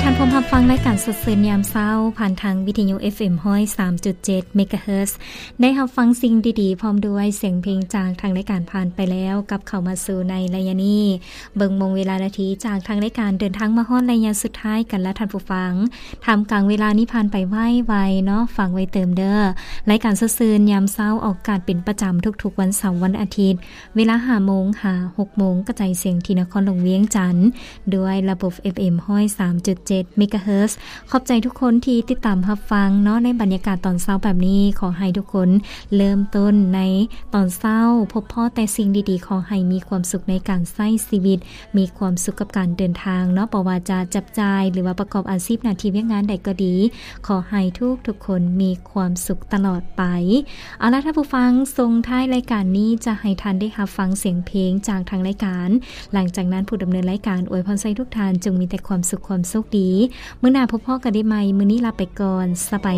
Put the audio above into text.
ທ່ານພົມຮັບຟັງລາຍການສົດຊື່ນຍາມເຊົ້າ ຜ່ານທາງວິທະຍຸ ເອັຟເອັມ ຮ້ອຍສາມຈຸດເຈັດ ເມກາເຮີດ ໄດ້ຮັບຟັງສິ່ງດີໆ ພ້ອມດ້ວຍສຽງເພງຈາກທາງລາຍການຜ່ານໄປແລ້ວ ກັບເຂົ້າມາສູ່ໃນໄລຍະນີ້ ເບິ່ງໂມງເວລານາທີ ຈາກທາງລາຍການເດີນທາງມາຮອດໄລຍະສຸດທ້າຍກັນລະທ່ານຜູ້ຟັງ. ທ່າມກາງເວລານີ້ຜ່ານໄປໄວໆເນາະ, ຝາກໄວ້ເຕີມເດີ. ລາຍການສົດຊື່ນຍາມເຊົ້າອອກອາກາດເປັນປະຈຳທຸກໆວັນເສົາ, ວັນອາທິດ ເວລາຫ້າໂມງຫາຫົກໂມງ ກະຈາຍສຽງທີ່ນະຄອນຫຼວງວຽງຈັນ ດ້ວຍລະບົບ ເອັຟເອັມ ຮ້ອຍສາມຈຸດເຈັດ ເມກາເຮີດ. ຂອບໃຈທຸກຄົນທີ່ຕິດຕາມຮັບຟັງເນາະ ໃນບັນຍາກາດຕອນເຊົ້າແບບນີ້. ຂໍໃຫ້ທຸກຄົນເລີ່ມຕົ້ນໃນຕອນເຊົ້າ ພົບພໍ້ແຕ່ສິ່ງດີໆ. ຂໍໃຫ້ມີຄວາມສຸກໃນການໃຊ້ຊີວິດ, ມີຄວາມສຸກກັບການເດີນທາງເນາະ, ບໍ່ວ່າຈະຈັບຈ່າຍ ຫຼືວ່າປະກອບອາຊີບໜ້າທີ່ວຽກງານໃດກໍດີ, ຂໍໃຫ້ທຸກໆຄົນມີຄວາມສຸກຕະຫຼອດໄປ. ເອົາລະທ່ານຜູ້ຟັງ, ສົ່ງທ້າຍລາຍການນີ້ຈະໃຫ້ທ່ານໄດ້ຮັບຟັງສຽງເພງຈາກທາງລາຍການ. ຫຼັງຈາກນັ້ນ ຜູ້ດຳເນີນລາຍການອວຍພອນໃຫ້ທຸກທ່ານຈົ່ງມີແຕ່ຄວາມສຸກຄວາມໂຊກດີ. ມື້ໜ້າພົບພໍ້ກັນໄດ້ໃໝ່. ມື້ນີ້ລາໄປກ່ອນ. ສະບາຍ